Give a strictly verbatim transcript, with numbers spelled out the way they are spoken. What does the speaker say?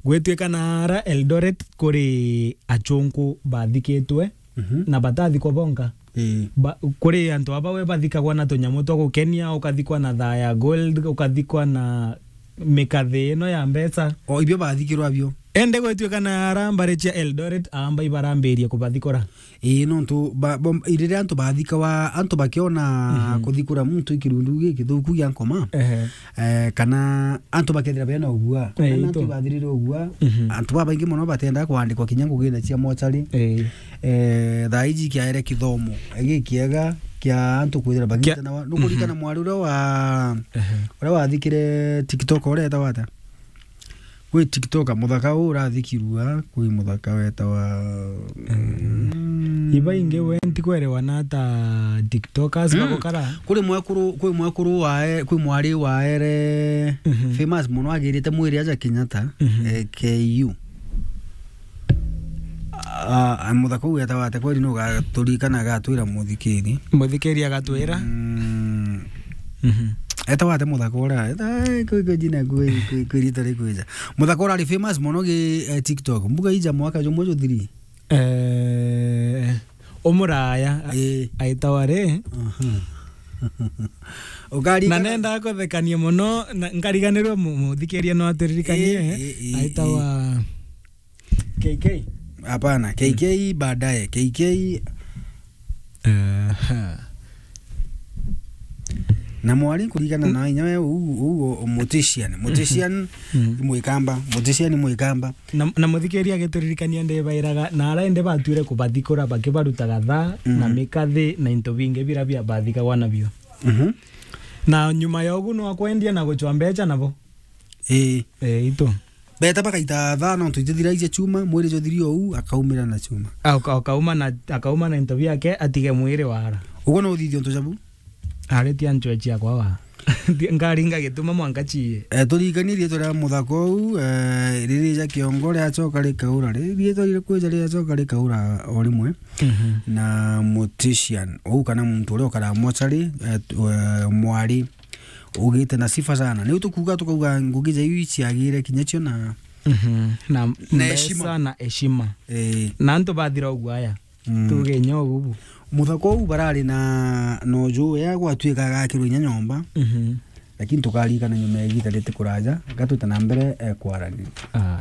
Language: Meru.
Gwituika na ara Eldoret kuri achunku bathikitwe Mhm. na batathikwa bonka. Ii. Ba-, kuri antu aba we bathikagwa na tunyamu twa gukenia, ukathikwa na thaa ya gold, ukathikwa na mikathe ino ya mbeca. O, ibio bathikirwa bio. Ende gwituika na ara mbari cia Eldoret, aamba ibarambirie kubathikura. Ii, nontu ba-, bo-, riria antu bathikawa, antu bakiona Mhm. kuthikura muntu i kirundu gikithuku gia nkoma, Ehe. eh, kana antu bakethira bena ugua, Eh, kana antu itu. ibathirire ugua, Mhm. antu babaingi mono batendaa kwandikwa kinya ngugine cia mochari. Eh. Eh, thaa iji kiaere kithomo gikiega kia antu kwithira Kia- bagitanawa. Nukuririkana Mhm. mwari uria wa, Ehe. uria wathikire TikTok uria etagwa atia? Kwi TikToker muthaka uu urathikirua, kwi muthaka wetawa, mm. Iba ingi we ntikwerewa na ta TikTokers Mm. bagukara. Kuri mwekuru, kwi mwekuru wae, kwi mwari waere Mhm. famous mono agirite mwiri aja Kenyatta, Mhm. eh, K U. Ah, ah, muthaka uu wetawa atia kweri nugaturikana agatwira muthikiri. Muthikiri agatwira? Mm. Mhm. Etawa atia muthaka uria? Eta, eh, kwi, kwi jina kwi, kwi, kwi rita rikwija. Muthaka uria ari famous mono gi, eh, TikTok. Mbuga ija mwaka jumwe juthiri. Eh, umuraya, a-, Ii. aitawa ri? Aha. Ukarigana- Na nenda kuthekania mono, na nkariganirwa mu-, muthikiria no aturirikanie, Ii, ii, ii, aitawa K K? Hapana, K K baadaye. K K. Aha. Na mwari kurigana na inya we, uu, uu, o, mortician. Mortician Mhm. mwikamba. Mortician mwikamba. Na, na muthikiria agituririkania ndibairaga, na ara indi batuire kubathikura bakibarutaga thaa, na Mhm. mikathi, na into bingi bira bia bathikagwa nabio. Mhm. Na nyuma ya ugu no akwendia na gucwa mbecha nabo. Ii. Eh, itu. Beta bakaita thaa nontu itithiragia chuma, mwiri juthiri ou, akaumira na chuma. Aka-, akauma na, akauma na into biake, atige mwiri wara. Uguo no uthithia untu jabu? Ari ti anchwe ciakwa wa. Ngaringa gituma mwanka chie. Eh, turirikanie riitwa ria muthaka ou, eh, riri ja kiongo riacoka rikaura. Ri-, riitwa riri kwija riacoka rikaura o rimwe. Mhm. Na mortician, ou kana muntu uria ukaraga mochari, eh, tu-, eh, mwari. Ugite na sifa sana. Niu tukuuga tukauga ngugi ja iu iciagire kinya cio na Mhm. Na na mbeca heshima. Na heshima. Eh. Na antu bathira uguo aya. Mm. Tuge inya uguo bu. Muthaka uu barari na, na uju ya gwatuika agakirwa inya nyomba. Mhm. Lakini tukarikana nyuma ya igita riti kuraja, gatwite na mbere, eh, kwarania. Ah.